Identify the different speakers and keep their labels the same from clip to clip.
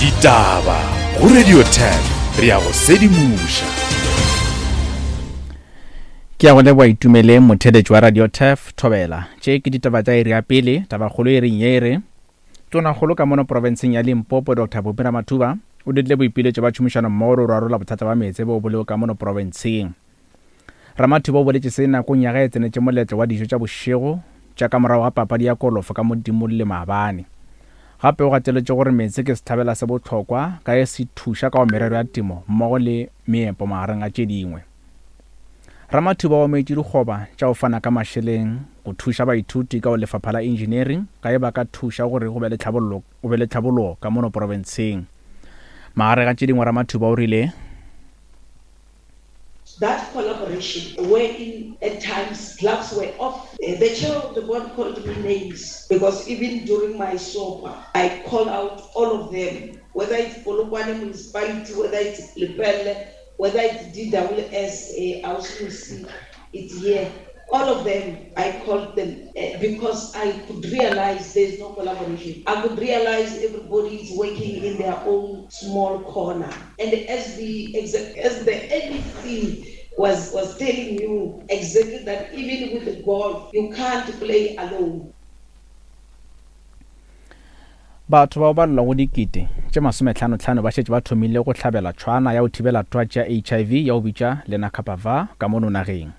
Speaker 1: Ditaba go Radio 10 re ya go sedimoša.
Speaker 2: Ke ya go leboa Itumeleng motheletši wa Radio Turf Thobela. Tše ke ditaba tša iri ya pele, tabakgolo e reng ye e re Tonakgolo ka mono profenseng ya Limpopo Doctor Phophi Ramathuba o dirile boipiletšo ba tšhomišano mmogo le go rarolla bothata ba meetse boo bo lego ka mono profenseng. Ramathuba o boletše se nakong ya ge e tsenetše moletlo wa dijo tša bošego tša ka morago ga papadi ya kolofo ka Modimolle maabane. Gape o gateletše gore meetse ke sehlabela se bohlokwa ka ge se thuša ka go merero ya temo mmogo le meepo magareng a tše dingwe. Ramathuba o amogetše dikgoba tša go fana ka mašeleng go thuša baithuti ka go lefapha la engineering ka ge ba ka thuša gore go be le tlhabollo go be le tlhabologo ka mono profenseng. Magareng a tše dingwe Ramathuba o rile.
Speaker 3: That collaboration wherein at times gloves were off, the chair of the board called me names because even during my SOPA I called out all of them, whether it's Polokwane municipality, whether it's Lepelle, whether it's DWS, Ausi it's here. All of them, I called them because I could realize there's no collaboration. I could realize everybody is working in their own small corner. And as the as the NEC was, was telling you exactly that even with the golf, you can't play alone.
Speaker 2: Batho bao ba llago dikete tše masometlhanotlhano ba šetše ba thomile go hlabela tšhwana ya go thibela twatši ya HIV ya go bitša Lenacapavir ka mono nageng.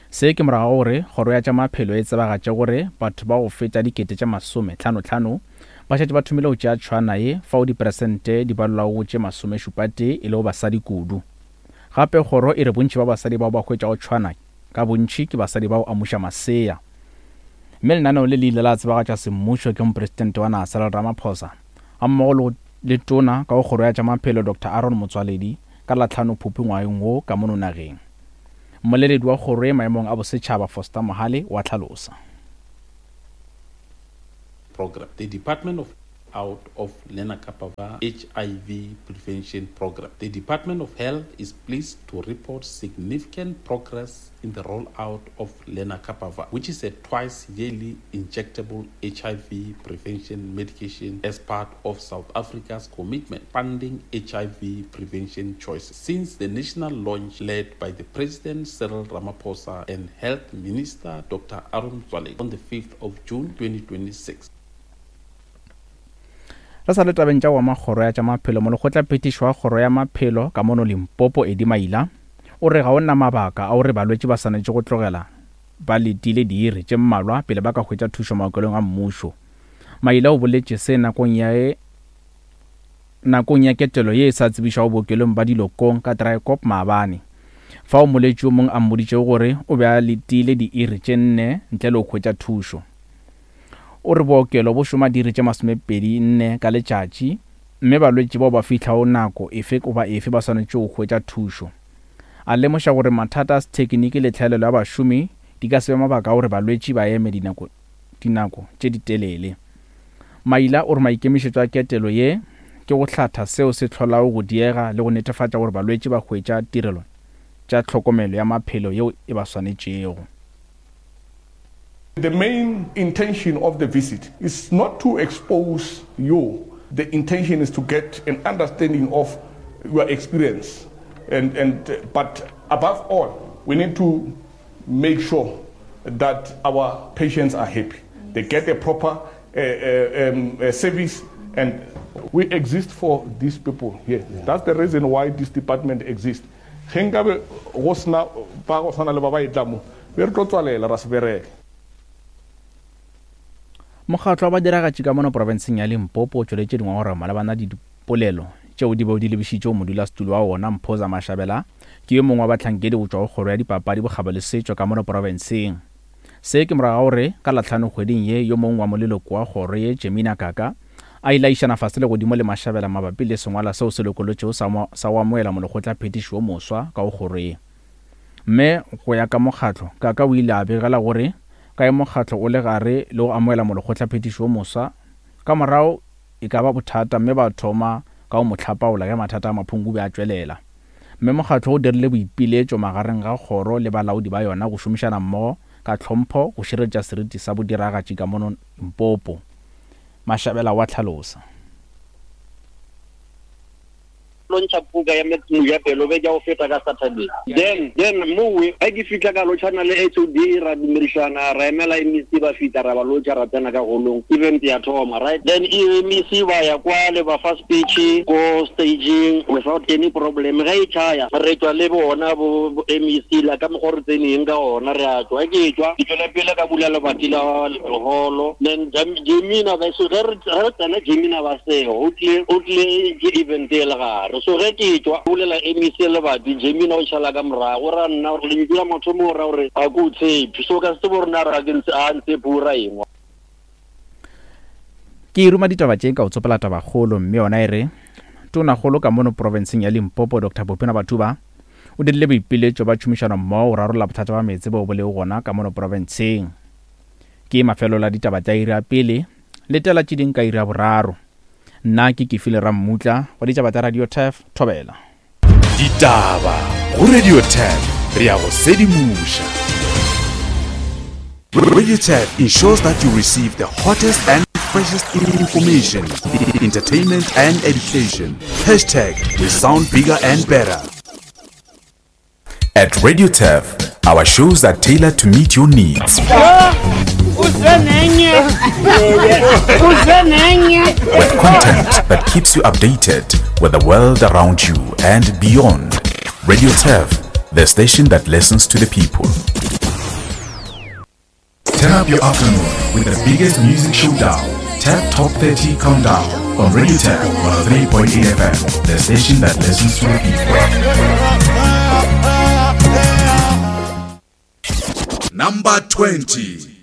Speaker 2: Se ke morago ga gore Kgoro ya tša Maphelo e tsebagatše gore batho ba go feta dikete tše masometlhanotlhano ba šetše ba thomile go tšea tšhwana ye fao diperesente di balelwago go tše masomešupatee e lego basadi kudu. Gape kgoro e re bontši ba basadi bao ba hwetšago tšhwana ka bontši ke basadi ba go amuša masea. Mme lenaneo le le ile la tsebagatšwa semmušo ke Mopresidente wa naga Cyril Ramaphosa gammogo le go le Tona ka go Kgoro ya tša Maphelo Doctor Aaron Motsoaledi ka la tlhano Phuphu ngwageng wo ka mono nageng. Mmoleledi wa kgoro ye maemong a bosetšhaba Foster Mohale wa hlalosa.
Speaker 4: Program. The Department of out of Lenacapavir HIV prevention program. The Department of Health is pleased to report significant progress in the rollout of Lenacapavir, which is a twice yearly injectable HIV prevention medication as part of South Africa's commitment funding HIV prevention choices. Since the national launch led by the President Cyril Ramaphosa and Health Minister Dr. Aaron Motsoaledi on the 5th of June 2026.
Speaker 2: Re sa le tabeng tša go ama kgoro ya tša maphelo, molekgotlaphethiši wa kgoro ya maphelo ka mono Limpopo, Eddie Maila, o re ga o na mabaka a gore balwetši ba swanetše go tlogela ba letile diiri tše mmalwa pele ba ka hwetša thušo maokelong a mmušo. Maila o boletše se nakong ya nakong ya ketelo ye e sa tsebišwago bookelong ba Dilokong ka Draaiekop maabane, fao molwetši yo mongwe a mmoditšego gore o be a letile diiri tše nne ntle le go hwetša thušo. O re bookelo bo šoma diiri tše masomepedi nne ka letšatši mme balwetši bao ba fihlago nako efe goba efe ba swanetše go hwetša thušo. A lemoša gore mathata a sethekiniki le tlhaelelo ya bašomi di ka se be mabaka a gore balwetši ba eme dinako dinako tše ditelele. Maila o re maikemišetšo a ketelo ye ke go hlatha seo se hlolago go diega le go netefatša gore balwetši ba hwetša tirelo tša tlhokomelo ya maphelo yeo e ba swanetšego.
Speaker 5: The main intention of the visit is not to expose you. The intention is to get an understanding of your experience. And, and, but above all, we need to make sure that our patients are happy. They get a proper uh, uh, um, uh, service and we exist for these people here. Yeah. That's the reason why this department exists. Ge nkabe go sena ba go swana le ba ba etla mo, be re tlo tswalela ra se bereke.
Speaker 2: Mokgatlo wa badiragatši ka mono profenseng ya Limpopo o tšweletše dingongorego malebana le dipolelo tšeo di bego di lebišitše go modulasetulo wa wona Mphoza Mashabela ke yo mongwe wa bahlankedi go tšwa go kgoro ya dipapadi, bokgabo le setšo ka mono profenseng. Se ke morago ga gore ka Lahlano kgweding ye yo mongwe wa moleloko wa kgoro ye Jemina Kaka a ile a išana fase le godimo le Mashabela mabapi le sengwalwa seo se lokolotšego sa sa go amoela molekgotla phetiši wo moswa ka go kgoro ye. Mme go ya ka mokgatlo, Kaka o ile a begela gore ka ge mokgatlo o le gare le go amoela molekgotla phetiši wo moswa, ka morago e ka ba bothata mme ba thoma ka go mo hlapaola ge mathata a Maphungubje a tšwelela. Mme mokgatlo o dirile boipiletšo magareng ga kgoro le balaodi ba yona go šomišana mmogo ka tlhompho go šireletša seriti sa bodiragatši ka mono Limpopo. Mashabela wa hlalosa.
Speaker 6: tlo ntšha puka ya Max Mojapelo beke ya go feta ka Saturday. Then, then mowe ge ke fihla ka lotšhana le HOD ra dumedišana, ra emela MEC ba fihla ra ba lotšha ra tsena ka holong, event ya thoma, right? Then MEC ba ya kwale ba fa speech ko stageng without any problem. Ge e tšhaya re tšwa le bona bo MEC la ka mokgwa re tseneng ka gona re a tšwa. Ge ke tšwa ke tšwela pele ka bula lebati la holo, then Jemina ba so ge re tsena Jemina ba sego o tlile o tlile ke event e le gare. So ge ke tšwa bulela MEC lebati, Jemina o šala ka morago o ra nna gore lentšu la mathomo o ra gore ga ke o tshepe. So ka se tsebe gore na ra ke ntse a ntshepe o ra eng.
Speaker 2: Ke ruma ditaba tše ka go tsopola tabakgolo mme yona e re, Tonakgolo ka mono profenseng ya Limpopo Doctor Bopina Batuba o dirile boipiletšo ba tšhomišanommogo go rarolla bothata ba meetse boo bo lego gona ka mono profenseng. Ke mafelo la ditaba tša iri ya pele, letela tše ding ka iri ya boraro. Nna ke Kefile Rammutla wa ditaba tša Radio Turf, Thobela.
Speaker 1: Ditaba go Radio Turf, re a go sedimoša. Radio Turf ensures that you receive the hottest and freshest information, entertainment and education. Hashtag we sound bigger and better. At Radio Turf, our shows are tailored to meet your needs. With content that keeps you updated with the world around you and beyond. Radio Turf, the station that listens to the people. Turn up your afternoon with the biggest music showdown, Tap Top 30 Countdown on Radio Tap 103.8 FM, the station that listens to the people. Number 20.